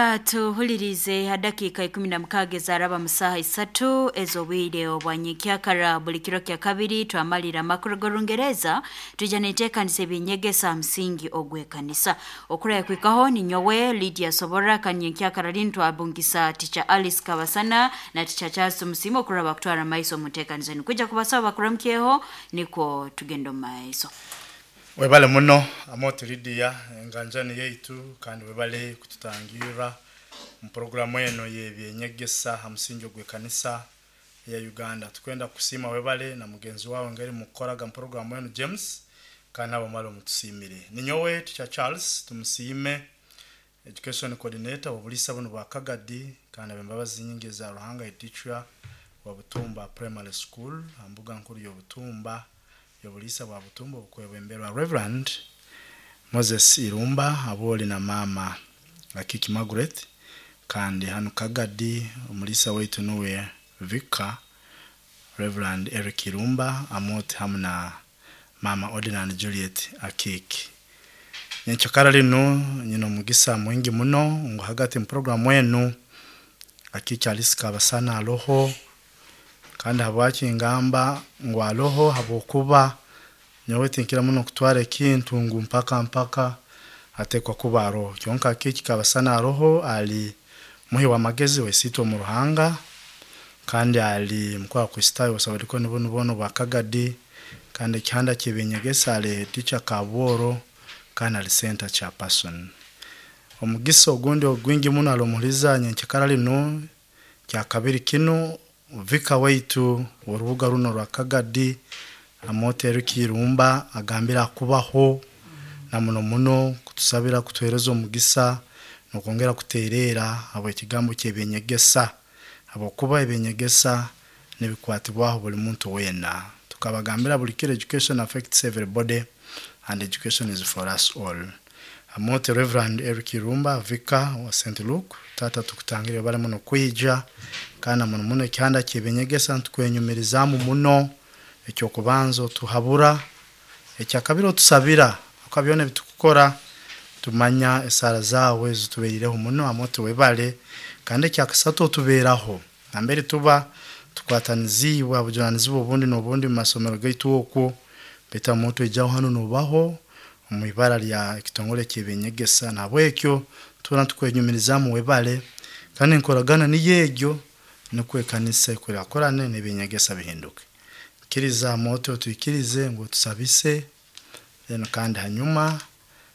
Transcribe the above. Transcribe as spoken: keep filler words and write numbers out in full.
Okwera tuhulirize hadakika ikumi na mukaaga ezaraba mu saaha isatu ez'obwire obwanyenkyakara. Buli kiro kya kabiri twamalira amakuru g'Orungereza, twija n'enteekaniza eby'enyegesa ha musingi ogw'ekanisa. Okuraya kwikaho ninyowe Lydia Sobora, kandi nyenkyakara linu twabungisa Teacher Alice Kabasana na Teacher Charles Tumusiime okuraba bakutwara maiso omu nteekaniza enu. Kwija kubasaba bakuramukyeho nikwo tugenda omu maiso. Webale muno Amooti Lydia, enganjani yaitu, kandi webale kututangirra mu programu eno y'ebyenyegesa ha musingi ogw'ekanisa ya Uganda. Tukwenda kusiima webale na mugenzi wawe ngeri mukukoraga mu programu eno James, kandi nabo male mutusiimire. Ninyowe Teacher Charles Tumusiime, education coordinator w'obuliisa bunu bwa Kagadi, kandi ab'embabazi nyingi eza Ruhanga, teacher wa Butumba Primary School ha mbuga nkuru y'Obutumba y'obuliisa bwa Butumba obukwebemberwa Reverend Moses Irumba aboli na mama Akiki Margaret. Kandi hanu Kagadi omuliisa waitu nuwe Vicar Reverend Eric Irumba Amooti hamu na mama Ordinand Juliet Akiki. Nyenkyakara linu nyina omugisa mwingi muno ngu hagati mu programu enu Akiki Alice Kabasana aloho. Kandi habwaki ngamba ngu aloho? Habwokuba nyowe tinkira muno kutwara ekintu ngu mpaka mpaka atekwa kuba aroho. Kyonka Akiki Kabasana aroho, ali muhi w'amagezi wesiitwe omu Ruhanga, kandi ali mukuru wa Kristaayo obusabalikoni bunu boona obwa Kagadi, kandi ekihanda ky'ebyenyegesa ali teacher Kabworo, kandi ali center chairperson. Omugisa ogundi ogwingi muno ali omuhuriza nyenkyakara linu kyakabiri kinu vika waitu w'orubuga runo rwa Kagadi Amooti Eric Irumba agambire akubaho na muno muno kutusabira, kutuheereza omugisa n'okwongera kuteereera habw'ekigambo ky'ebyenyegesa, habwokuba ebyenyegesa nibikwatibwaho buli muntu weena. Tukabagambira buli kiro, education affects everybody and education is for us all. Amooti Reverend Eric Irumba, vicar wa Saint Luke, tata tukutangire bali muno kwija, kandi muno muno ekihanda ky'ebyenyegesa ntukwenyumirizaamu muno. Ekyokubanza otuhabura, ekyakabiri otusabira, akuba byona ebitukukora tumanya esaara zaawe zituberireho muno. Amooti webale. Kandi ekyakasatu otubeeraho nambere tuba tukwatanizibwe obujunanizibwa obundi n'obundi mu masomero gaitu okwo, baitu Amooti oijaho hanu nobaho omu ibara lya ekitongole ky'ebyenyegesa, nahabwekyo tuba tukwenyumirizaamu webale. Kandi enkoragana niyo egyo nukwo ekanisa ekurakurane n'ebyenyegesa bihinduke. Kkiriza Amooti otwikirize ngu otusabise then, kandi hanyuma